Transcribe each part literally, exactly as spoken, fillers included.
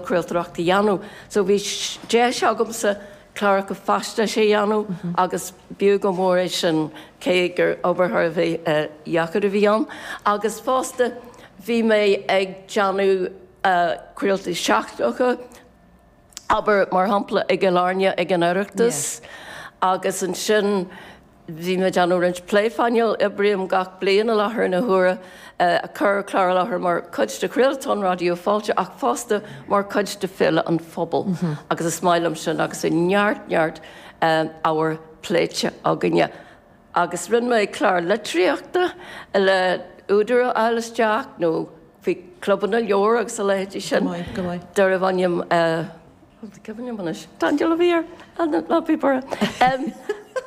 craoltóireacht a dhéanamh. So bhí deis agamsa cláracha faisnéise a dhéanamh agus b'fhiú go mór é sin cé gur obair thar a bheith dheacair a bhí ann. Agus fosta bhí mé ag déanamh craoltaí seachtracha, abair mar shampla i gCill Airne ag an Oireachtas agus ansin bhí mé ag déanamh roinnt pléphainéal, oibrím gach bliain i láthair na huaire ag cur clár i láthair mar chuid de Chraoltán Raidió Fáilte ach fosta mar chuid de Féile an Phobail agus is maith liom sin agus bhí neart neart ábhar pléite againne. Agus rinne mé clár litríochta le údair a fháil isteach nó faoi clubanna leabhar agus a leithéidí sin. Go maith, go maith. Darbh ainm cuimhin liom anois, Daniel a bhí air, ná bí buartha.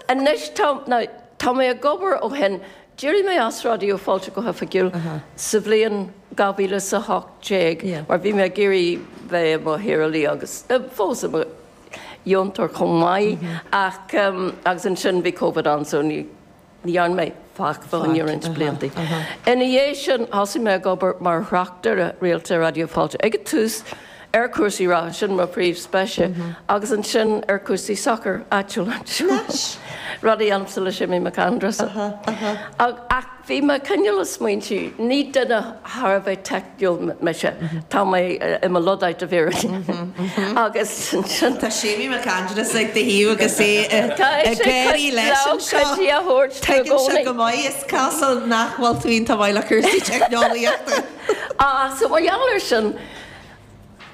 Anois tá, now, tá mé ag obair ó shin, d'éirigh mé as Raidió Fáilte go hoifigiúil sa bhliain dhá mhíle is a hocht déag mar bhí mé ag iarraidh bheith i mo shaorálaí agus fós i mo dheontóir chomh maith ach agus ansin bhí Covid ann so ní ní dhearna mé faic fá choinne roinnt blianta. Ina dhiaidh sin thosaigh mé ag obair mar thráchtaire rialta Raidió Fáilte ag an tús ar chúrsaí reatha, sin mo phríomhspéis, agus ansin ar chúrsaí sacair áitiúil anseo. Rud a dhéanaimse le Séimí Mac Aindreasa. Ach bhí mé cineál ag smaointiú, ní duine thar a bheith teicniúil mise, tá mé i mo Luddite i bhfírinne. Agus ansin. Tá Séimí Mac Aindreasa ag do thaobh agus é ag gáirí leis anseo. Tuigeann sé go maith, is cosúil nach bhfuil tú iontach maith le cúrsaí teicneolaíochta. Ah, so mar gheall air sin,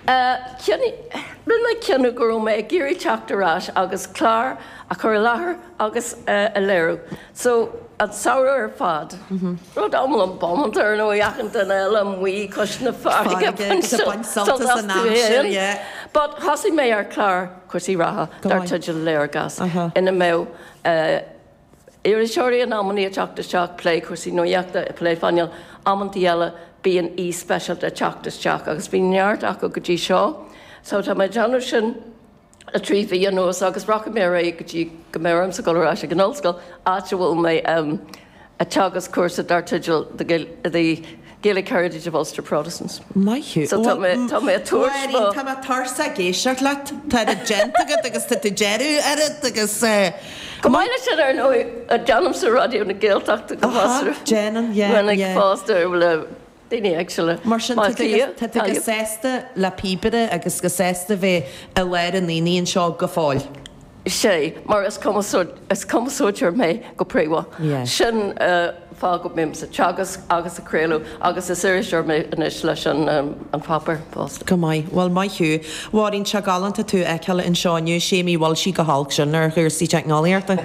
Rinne mé cinneadh go raibh mé ag iarraidh teacht ar ais agus clár a chur i láthair agus a léiriú. So, an samhradh ar fad. Rud iomlán bómánta ar ndóigh, achan duine eile amuigh cois na farraige ag baint sult astu féin. But thosaigh mé ar chlár cúrsaí reatha dar teideal Léargas ina mbeadh iriseoirí in amannaí ag teacht isteach, plé cúrsaí nuachta, pléphainéal, amantaí eile bíonn aoi speisialta ag teacht isteach agus bhí neart acu go dtí seo. So tá mé ag déanamh sin le trí mhí anuas agus rachaidh mé ar aghaidh go dtí go mbeidh ormsa dul ar ais ag an ollscoil, áit a bhfuil mé ag teagasc cúrsa dar teideal The Gaelic Heritage of Ulster Protestants. Maith thú. So tá mé tá mé ag tabhairt mo. Máirín, tá mé tuirseach ag éisteacht leat. Tá oiread déanta agat agus tá tú deireadh oiread agus eh. Chomh maith leis sin ar ndóigh, déanaimse Raidió na Gaeltachta go Aha, déanann, yeah, minic yeah. fosta le daoine éagsúla. Mar sin, tá tú go, tá tú go sásta le píobaire agus go sásta bheith i lár an aonaigh anseo go fóill. Sea, mar is is cumarsáideoir mé go príomha. Sin fáth go mbím sa teagasc agus ag craoladh agus is iriseoir mé anois leis an an pháipéar fosta. Go maith. Bhuel, maith thú. Mháirín, tá sé galánta tú a fheiceáil anseo inniu. Séimí, bhfuil sí go holc sin ar chúrsaí teicneolaíochta?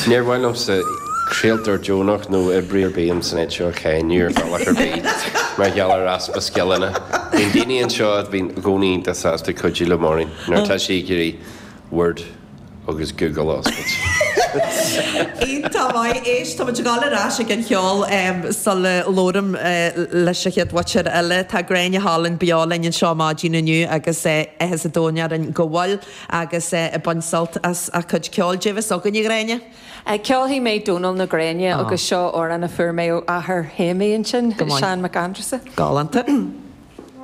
Níor mhaith liomsa craoltóir deonach nó oibrí ar bith san áit seo a cháineadh ar bhealach ar bith mar gheall ar easpa scileanna. Bíonn daoine anseo a bhíonn i gcónaí iontach sásta cuidiú le Máirín nuair atá sí ag iarraidh Word agus Google a oscailt. Iontach maith. Éist, tá muid ag dul ar ais ag an cheol sula labhraím leis an chéad mhuintir eile. Tá Gráinne Holland beo linn anseo maidin inniu agus áthas an domhain orainn go bhfuil agus ag baint sult as a cuid ceoil. Caidé atá againn, a Ghráinne? Ceolfaidh mé Dónal na Gréine agus seo amhrán a fuair mé ó athair Shéimí ansin, Seán Mac Aindreasa. Galánta.